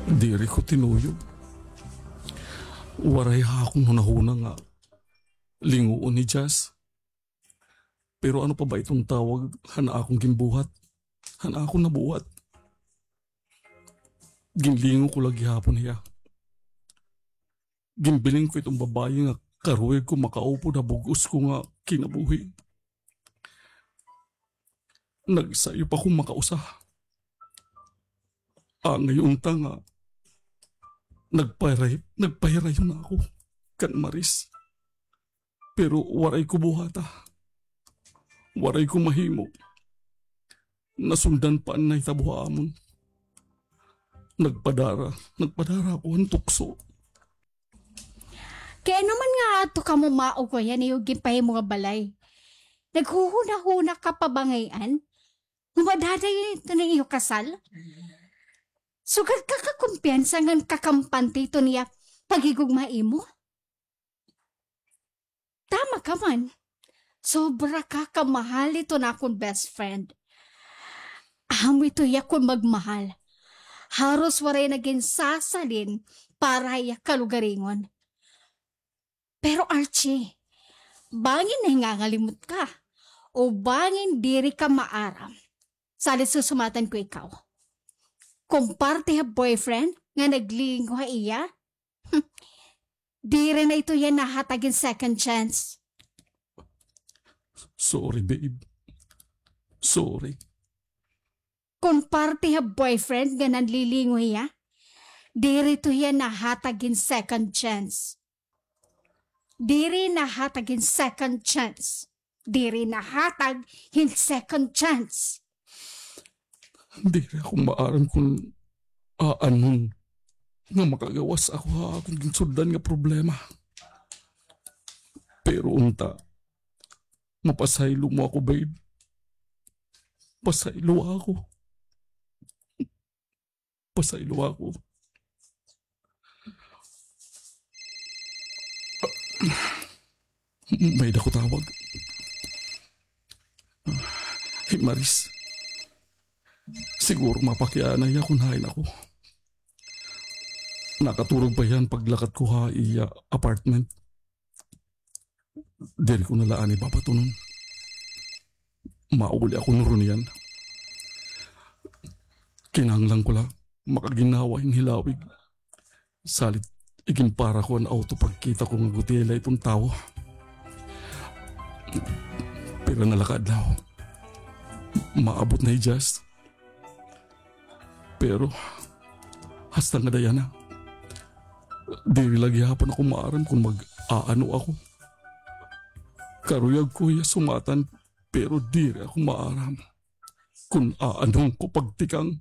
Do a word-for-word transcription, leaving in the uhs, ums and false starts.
Diri ko tinuyo. Waray ha akon hunahuna nga linguon hi Jazz. Pero ano pa ba iton tawag han akon ginbuhat? Han akon nabuhat. Ginlingo ko la gihapon hiya. Ginbiling ko iton babaye nga karuyag ko makaupod ha bug-os ko nga kinabuhi. Nagsayo pa ko makausa. Angay unta nga nagpahiray-, nagpahirayon na ako kan Maris. Pero waray ko buhata. Waray ko mahimo. Nasundan pa an nahitabo ha amon. Nagpadara, nagpadara ako han tukso. Kay ano man nga adto kamo maugoy han iyo ginpahimo nga balay? Naghuhunahuna ka pa ba ngay-an nga madadayon iton iyo kasal? Sugad ka kakumpiyansa ngan kakampante iton iya paghigugma ha imo? Tama ka man. Sobra ka kamahal iton akon best friend. Amo ito hiya kon magmahal. Haros waray na ginsasalin para ha iya kalugaringon. Pero Archie, bangin nahingangalimot ka, o bangin diri ka maaram. Salit susumatan ko ikaw. Kon parte ha boyfriend nga naglingo ha iya, diri na ito hiya nahatag hin second chance. Sorry, babe. Sorry. Kon parte ha boyfriend nga nanlilingo hiya, diri ito hiya nahatag hin second chance. Diri nahatag hin second chance. Diri nahatag hin second chance. Diri ako maaram kon aanon nga makagawas ako ha akon ginsudlan nga problema. Pero unta, mapasaylo mo ako, babe. Pasaylo ako. Pasaylo ako. May-ada ko tawag. Hi Maris. Siguro mapakiana hiya kon hain ako. Nakaturog pa hiya han paglakat ko ha iya apartment. Diri ko na la anay babatunon. Mauli ako nuron niyan. Kinahanglan ko la makaginhawa hin hilawig. Salit iginpara ko an awto pagkita ko nga gutiay la iton tawo. Pira na la ka adlaw, maabot na hi Jazz. Pero hasta ngada yana, diri la gihapon ako maaram kon mag-aano ako. Karuyag ko hiya sumatan, pero diri ako maaram kon aanon ko pagtikang.